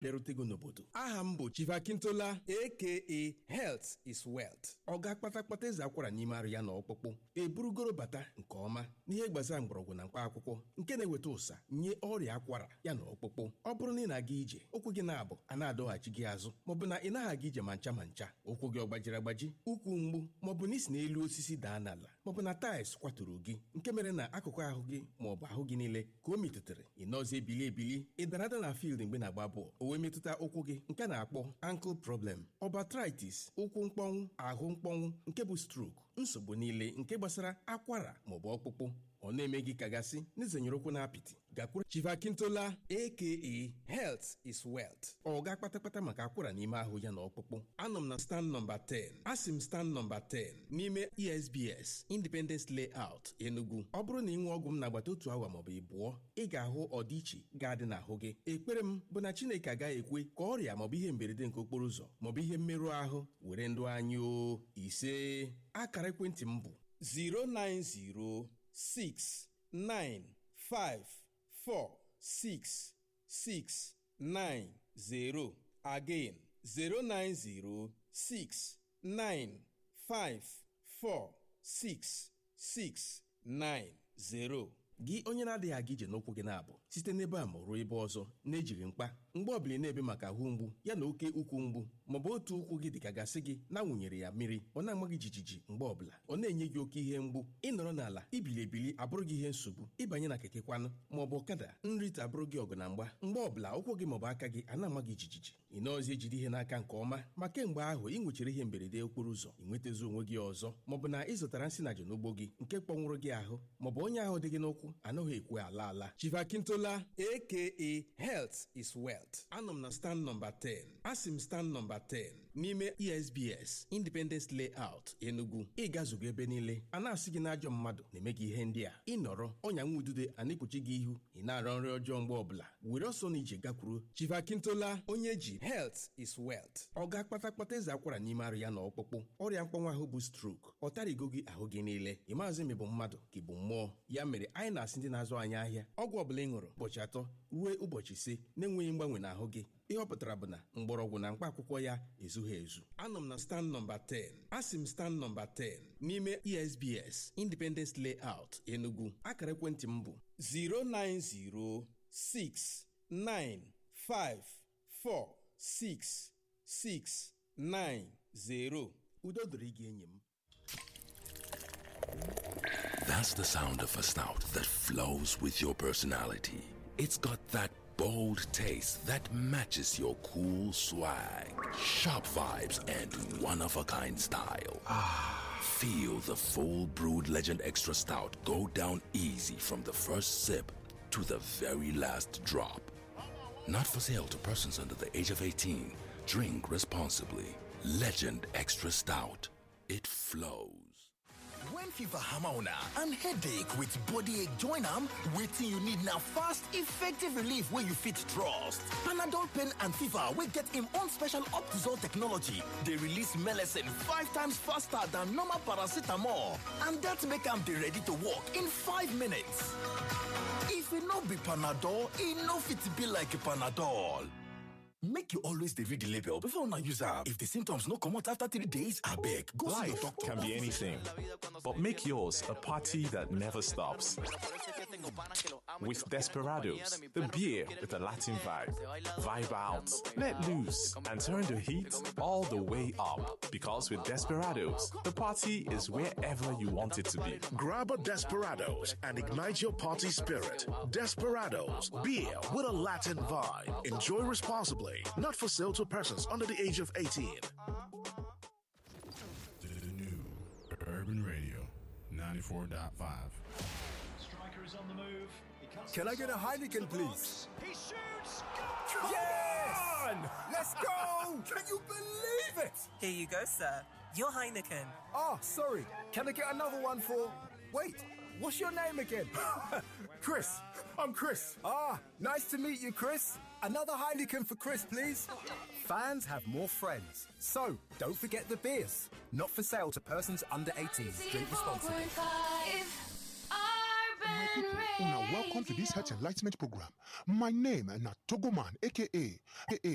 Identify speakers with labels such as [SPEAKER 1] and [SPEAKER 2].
[SPEAKER 1] Bịarutego n'obodo. Aha m bụ Chief Akintola, aka Health is Wealth. Ọ ga-akpata kpata eze akwara n'ime arụ ya na ọkpụkpụ eburugoro bata nke ọma n'ihe gbasara mgbọrọgwụ na mkpa akwụkwọ nke na-eweta ụsa nye ọrịa akwara ya na ọkpụkpụ. Ọ bụrụ na ị na-aga ije, ụkwụ gị na-abụ a na-adọghachi gị azụ, maọbụ na ị naghị aga ije ma ncha ma ncha, ụkwụ gị ọ gbajiri agbaji, ụkwụ mgbu, maọbụ na isi n'elu osisi daa n'ala, maọbụ na taịls kwaturu gị nke mere na akụkụ ahụ gị maọbụ ahụ gị niile ka o metụtara, ị nọzi ebili ebili, ị dara ada na field mgbe na-agba bọọlụ, o wee metụta ụkwụ gị nke na-akpọ ankle problem, ọbatritis, ụkwụ mkpọnwụ, ahụ mkpọnwụ nke bụ stroke, nsogbu niile nke gbasara akwara maọbụ ọkpụkpụ ọ na-eme gị kagasị n'izenyere ụkwụ na apịtị. Gakwuru Chief Akintola, aka Health is Wealth. Ọ ga kpatakpata maka akwara n'ime ahụ ya na ọkpụkpụ. Anọ m na stand nọmba 10, asị m stand nọmba 10 n'ime ESBS Independence Layout, Enugu. Ọ bụrụ na ị nwee ọgwụ m n'agbata otu awa maọbụ ịbụọ, ị ga-ahụ ọdịiche ga-adị n'ahụ gị. Ekpere m bụ na Chineke agaghị ekwe ka ọrịa maọbụ ihe mberede nke okporo ụzọ maọbụ ihe mmerụ ahụ were ndụ anyị. O ise, akara ekwentị m bụ 090 6 9 5 4 6 6 9 0. Again, 090 6 9 5 4 6 6 9 0. Gị onye na-adịghị aga ije n'ụkwụ gị na-abụ site n'ebe a ma ruo ebe ọzọ na-ejighị mkpa, mgbe ọbụla ị na-ebe maka ahụ mgbu ya na oke ukwu mgbu, maọbụ otu ụkwụ gị dịka gasị gị na-awụnyere ya mmiri, ọ na-ama gị jijiji mgbe ọbụla, ọ na-enye gị oke ihe mgbu, ịnọrọ n'ala ibili ebili abụrụ gị ihe nsogbu, ịbanye na keke kwanụ maọbụ ọkada, nrite abụrụ gị ọgụ na mgba, mgbe ọbụla ụkwụ gị maọbụ aka gị a na-ama gị jijiji, ị nọọzi ejide ihe n'aka nke ọma, ma kemgbe ahụ ị nwechara ihe mberede okporo ụzọ, ị nwetazi onwe gị ọzọ, maọbụ na ị zụtara nsị na n'ugbo gị nke kpọnwụrụ gị ahụ, maọbụ onye ahụ dị gị n'ụkwụ anaghị ekwe ala ala. Chief Akintola, aka Health is Wealth. Anọ m na stand nọmba 10, asị m stand nọmba 10 n'ime ESBS Independence Layout, Enugu. Ị gazugo ebe niile a na-asị gị na ajọ mmadụ na-eme gị ihe ndị a, ịnọrọ ọnya nwa udude a na-ekpuchi gị ihu, ị na-arọ nri ọjọọ mgbe ọbụla, were ọsọ na ije gakwuru Chief Akintola, onye ji Health is Wealth. Ọ ga-akpata kpata eze akwara n'ime arụ ya na ọkpụkpụ, ọrịa mkpọnwa ahụ bụ stroke, ọ tarigo gị ahụ gị niile, ị maazị ma ị bụ mmadụ ka ị bụ mmụọ. Ya mere anyị na-asị ndị na-azụ anyị ahịa, ọgwụ ọbụla ị ṅụrụ ụbọchị 3 ruo ụbọchị 5 na-enweghị mgbanwe n'ahụ gị, ihe ọ pụtara bụ na mgbọrọgwụ na mkpa akwụkwọ ya ezughị ezu. Anọ m na stand nọmba 10, asị m stand nọmba 10 n'ime ESBS Independence Layout, Enugu. Akara ekwentị m bụ 09069546690. Udo dịrị gị enyi m.
[SPEAKER 2] That's the sound of a stout that flows with your personality. It's got that bold taste that matches your cool swag, sharp vibes, and one of a kind style. Feel the full brewed Legend Extra Stout go down easy from the first sip to the very last drop. Not for sale to persons under the age of 18. Drink responsibly. Legend Extra Stout. It flows.
[SPEAKER 3] When fever hammer una and headache with body ache join am, wetin you need na fast, effective relief wey you fit trust. Panadol pain and fever wey get im own special Optizol technology dey release melecine 5 times faster than normal paracetamol and dat make am dey ready to work in 5 minutes. If e no be Panadol, e no fit be like Panadol. Make you always dey read the label before una use am. If the symptoms no comot after 3 days, abeg go see your
[SPEAKER 4] Life
[SPEAKER 3] doctor.
[SPEAKER 4] can be anything, but make yours a party that never stops. With Desperados, the beer with a Latin vibe. Vibe out, let loose, and turn the heat all the way up. Because with Desperados, the party is wherever you want it to be.
[SPEAKER 5] Grab a Desperados and ignite your party spirit. Desperados, beer with a Latin vibe. Enjoy responsibly. Not for sale to persons under the age of 18.
[SPEAKER 6] The new Urban Radio 94.5.
[SPEAKER 7] Striker is on the move. He cuts
[SPEAKER 8] Can I get a
[SPEAKER 7] inside
[SPEAKER 8] Heineken,
[SPEAKER 7] to the
[SPEAKER 8] please?
[SPEAKER 7] box. He shoots.
[SPEAKER 8] Yes! Let's go! Can you believe it?
[SPEAKER 9] Here you go, sir. Your Heineken.
[SPEAKER 8] Ah, sorry. Can I get another one for. Wait, what's your name again? Chris. I'm Chris. Ah, nice to meet you, Chris. Another Heineken for Chris, please. Fans have more friends. So, don't forget the beers. Not for sale to persons under 18. Drink responsibly.
[SPEAKER 10] 94.5
[SPEAKER 11] My people, una welcome to this health enlightenment program. My name na Togoman, aka